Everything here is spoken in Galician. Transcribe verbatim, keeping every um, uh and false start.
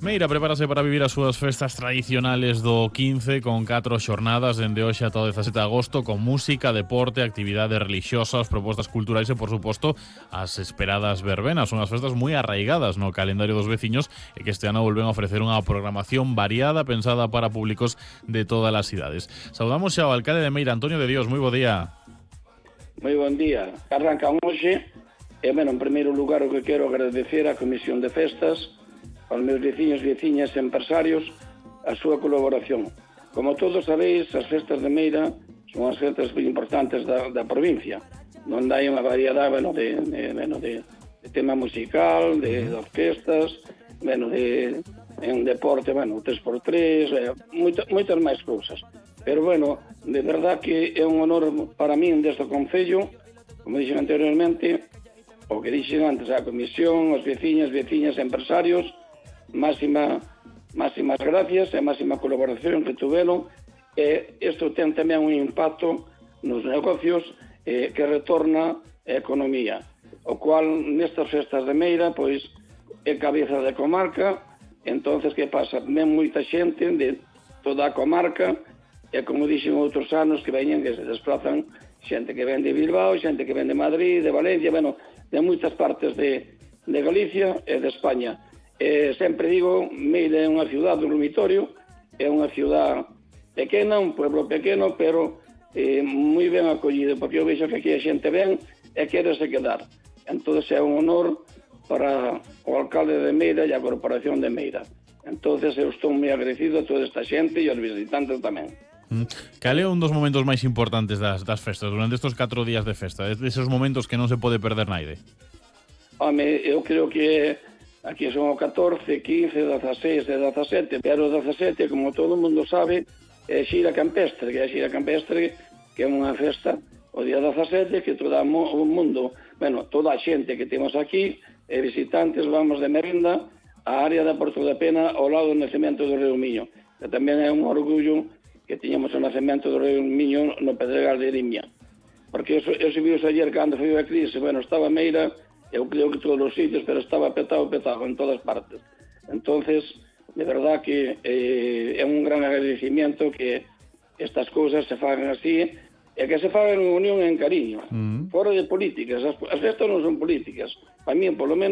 Meira prepárase para vivir as súas festas tradicionales do quince con catro xornadas dende hoxe ata o dezasete de agosto con música, deporte, actividades religiosas, propostas culturais e, por suposto, as esperadas verbenas. Son as festas moi arraigadas no calendario dos veciños e que este ano volven a ofrecer unha programación variada pensada para públicos de todas as cidades. Saudamos xa ao alcalde de Meira, Antonio de Dios. Moi bo día. Moi bon día. Arrancan hoxe e, bueno, en primeiro lugar o que quero agradecer á Comisión de Festas, aos meus veciños, veciñas e empresarios a súa colaboración. Como todos sabéis, as festas de Meira son as festas moi importantes da, da provincia, onde hai unha variedade bueno, de, de, bueno, de, de tema musical, de, de orquestas, bueno, de, en deporte, bueno, tres por tres, eh, moito, moitas máis cousas. Pero, bueno, de verdad que é un honor para min deste concello, como dixen anteriormente, o que dixen antes, a comisión, os veciñas, veciñas e empresarios, máxima, máximas gracias e máxima colaboración que tuveron, e isto ten tamén un impacto nos negocios eh, que retorna a economía, o cual nestas festas de Meira pois é cabeza de comarca. Entonces que pasa? Ven moita xente de toda a comarca e, como dixen outros anos, que veñen, que se desplazan xente que ven de Bilbao, xente que ven de Madrid, de Valencia, bueno, de moitas partes de, de Galicia e de España. Eh, sempre digo, Meira é unha ciudad dormitorio, é unha ciudad pequena, un pueblo pequeno, pero eh, moi ben acollido, porque eu vexo que aquí a xente ven e quérese quedar. Entón é un honor para o alcalde de Meira e a corporación de Meira. Entón eu estou moi agradecido a toda esta xente e aos visitantes tamén. Cal é un dos momentos máis importantes das, das festas, durante estes catro días de festa? Deses momentos que non se pode perder naide? Home, eu creo que aquí son o catorce, quince, dezaseis e dezasete, pero o dezasete, como todo o mundo sabe, é xira campestre, que é a xira campestre, que é unha festa o día dezasete, que todo o mundo, bueno, toda a xente que temos aquí, e visitantes, vamos de merenda á área da Porto da Pena ao lado do nacemento do Río Miño, que tamén é un orgullo que tiñamos o nacemento do Río Miño no Pedregal de Irimia. Porque eu, eu subiu ayer cando foi a crise, bueno, estaba Meira, eu creo que todos os sitios, pero estaba petado, petado en todas partes. Entonces, de verdad que eh, é un gran agradecimiento que estas cousas se fagan así, e que se fagan en unión e en cariño, mm. fora de políticas. As, as festas non son políticas, para mí, polo menos,